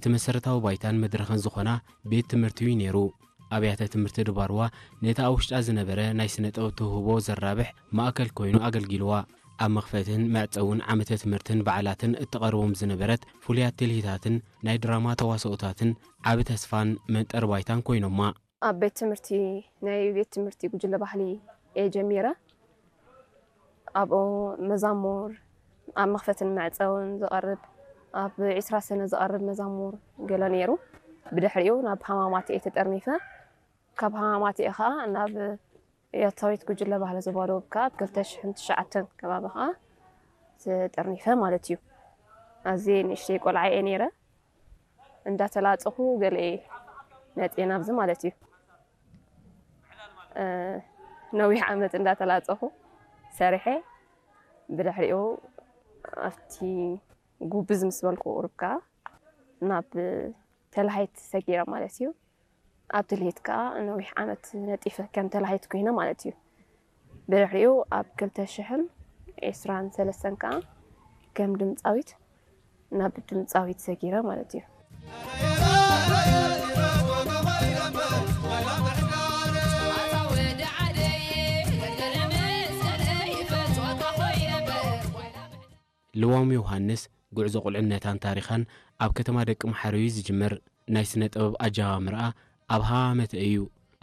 እቲ መሰረታዊ ባይታን መድረኽን ዝኾና ቤት ትምህርቲ እዩ ነይሩ። ኣብያተ ትምህርቲ ድባርዋ ነቲ ኣብ ውሽጣ ዝነበረ ናይ ስነ ጥበብ ተውህቦ ዘራብሕ ማእከል ኮይኑ ኣገልጊልዋ። ኣብ መኽፈትን መዕጸውን ዓመተ ትምህርትን በዓላትን እትቐርቦም ዝነበረት ፍሉያት ትልሂታትን ናይ ድራማ ተዋስኦታትን ዓቢ ተስፋን መንጠር ባይታን ኮይኖማ። ኣብ ቤት ትምህርቲ፣ ናይ ቤት ትምህርቲ ጉጅለ ባህሊ እየ ጀሚረ። ኣብኡ መዛሙር፣ ኣብ መኽፈትን መዕጸውን ዝቐርብ፣ ኣብ ዒስራ ሰነ ዝቐርብ መዛሙር ገለ ነይሩ። ብድሕሪኡ ናብ ሃማማት እየ ተጠርኒፈ። ካብ ሃማማት እየ ኸኣ ናብ ያታዊት ጉጅለ ባህሊ ዞባ ደቡብ ከኣ ኣብ ክልተ ሽሕን ትሽዓተን ከባቢ ኸኣ ተጠርኒፈ ማለት እዩ። ኣዝየ ንእሽተይ ቆልዓ እየ ነይረ። እንዳተላጸኹ ገለ እየ መጽየ ናብዚ ማለት እዩ። እ፣ ነዊሕ ዓመት እንዳተላጸኹ ሰሪሐ፣ ብድሕሪኡ ኣብቲ ጉብዝ ምስ በልኩ ቁሩብ ከኣ ናብ ተላሃይት ሰጊረ ማለት እዩ። ኣብ ትልሂት ከኣ ነዊሕ ዓመት ነጢፈ ከም ተላሃይት ኮይነ ማለት እዩ። ብድሕሪኡ ኣብ ክልተ ሽሕን ዕስራን ሰለስተን ከኣ ከም ድምጻዊት ናብ ድምጻዊት ሰጊረ ማለት እዩ። ልዋም ዮሃንስ ጉዕዞ ቁልዕነታን ታሪኻን ኣብ ከተማ ደቂ መሓረ እዩ ዝጅምር። ናይ ስነ ጥበብ ኣጀማምርኣ ኣብ ሃ ዓመተ እዩ።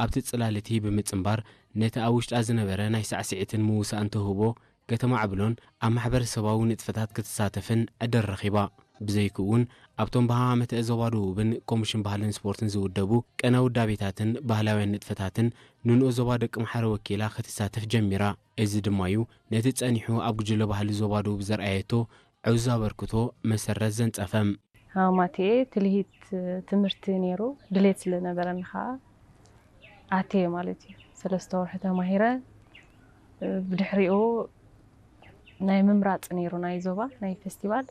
ኣብቲ ጽላል እቲ ብምጽንባር ነቲ ኣብ ውሽጣ ዝነበረ ናይ ሳዕስዒትን ምውሳእን ተውህቦ ከተማዕብሎን ኣብ ማሕበረሰባዊ ንጥፈታት ክትሳተፍን ዕድል ረኺባ። ብዘይክኡ እውን ኣብቶም ብሃ ዓመተ ዞባ ደቡብን ኮሚሽን ባህልን ስፖርትን ዝውደቡ ቅነ ውዳቤታትን ባህላውያን ንጥፈታትን ንንኡስ ዞባ ደቂ መሓረ ወኪላ ክትሳተፍ ጀሚራ። እዚ ድማ እዩ ነቲ ጸኒሑ ኣብ ጉጅለ ባህሊ ዞባ ደቡብ ዘርኣየቶ ዕዙዝ ኣበርክቶ መሰረት ዘንጸፈ። ሃማቴ ትልሂት ትምህርቲ ነይሩ፣ ድሌት ስለ ነበረኒ ኸኣ ኣትየ ማለት እዩ። ሰለስተ ወርሒ ተማሂረ፣ ብድሕሪኡ ናይ ምምራጽ ነይሩ፣ ናይ ዞባ ናይ ፌስቲቫል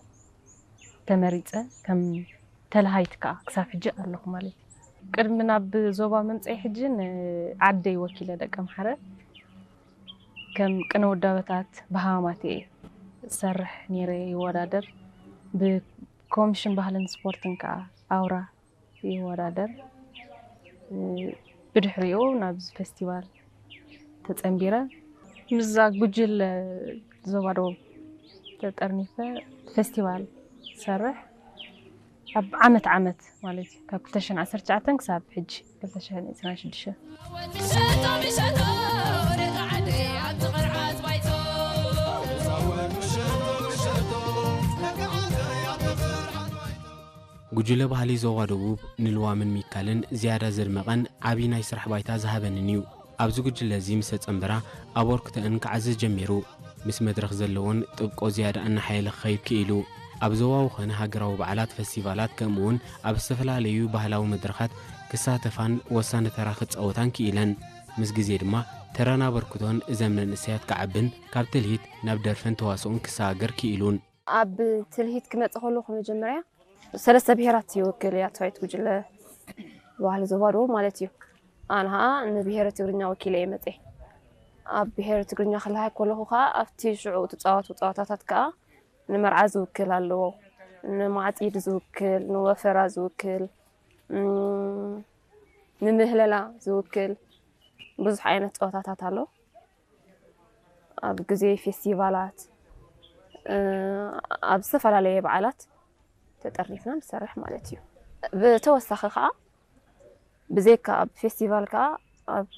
ተመሪጸ፣ ከም ተልሃይት ከኣ ክሳብ ሕጂ ኣለኹ ማለት እዩ። ቅድሚ ናብ ዞባ ምምጸይ ሕጂ ንዓደይ ወኪለ ደቂ ኣምሓረ ከም ቅነ ውዳበታት ብሃማቴ እሰርሕ ነይረ፣ ይወዳደር። ብኮሚሽን ባህልን ስፖርትን ከኣ ኣውራ ይወዳደር። ብድሕሪኡ ናብዚ ፌስቲቫል ተጸንቢረ። ምስዛ ጉጅለ ዞባ ደቡብ ተጠርኒፈ ፌስቲቫል ሰርሕ ኣብ ዓመት ዓመት ማለት እዩ፣ ካብ ክልተ ሽሕን ዓሰርተ ትሽዓተን ክሳብ ሕጂ ክልተ ሽሕን ዕስራን ሽዱሽተን። ጉጅለ ባህሊ ዞባ ደቡብ ንልዋምን ሚካልን ዝያዳ ዘድመቐን ዓቢ ናይ ስራሕ ባይታ ዝሃበንን እዩ። ኣብዚ ጉጅለ እዚ ምስ ተጸንበራ ኣበርክቶአን ክዓዝዝ ጀሚሩ። ምስ መድረኽ ዘለወን ጥብቆ ዝያዳ እናሓየለ ክኸይድ ክኢሉ። ኣብ ዞባዊ ኾነ ሃገራዊ በዓላት፣ ፈስቲቫላት፣ ከምኡውን ኣብ ዝተፈላለዩ ባህላዊ መድረኻት ክሳተፋን ወሳኒ ተራ ክጻወታን ክኢለን። ምስ ግዜ ድማ ተራን ኣበርክቶን እዘን መንእሰያት ክዓብን ካብ ትልሂት ናብ ደርፍን ተዋስኦን ክሰጋገር ክኢሉን። ኣብ ትልሂት ክመጽእ ከለኹ መጀመርያ ሰለስተ ብሄራት ይውክል እያ ትራይት ጉጅለ ባህሊ ዞባ ደቡብ ማለት እዩ። ኣነ ኸኣ ንብሄረ ትግርኛ ወኪለ እየ መጽየ። ኣብ ብሄረ ትግርኛ ክለሃይ ከለኹ ኸኣ ኣብቲ ሽዑ ትጻወቱ ጸዋታታት ከኣ ንመርዓ ዝውክል ኣለዎ፣ ንማዕጺድ ዝውክል፣ ንወፈራ ዝውክል፣ እም፣ ንምህለላ ዝውክል ብዙሕ ዓይነት ጸዋታታት ኣሎ። ኣብ ግዜ ፌስቲቫላት፣ እ፣ ኣብ ዝተፈላለየ በዓላት ተጠርኒፍና ንሰርሕ ማለት እዩ። ብተወሳኺ ኸኣ ብዘይካ ኣብ ፌስቲቫል ከኣ ኣብ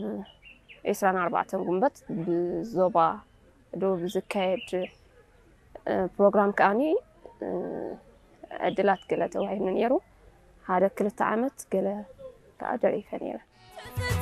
ዕስራን ኣርባዕተን ጉንበት ብዞባ ደቡብ ዝካየድ፣ እ፣ ፕሮግራም ከኣኒ፣ እ፣ ዕድላት ገለ ተዋሂብኒ ነይሩ። ሓደ ክልተ ዓመት ገለ ከኣ ደሪፈ ነይረ።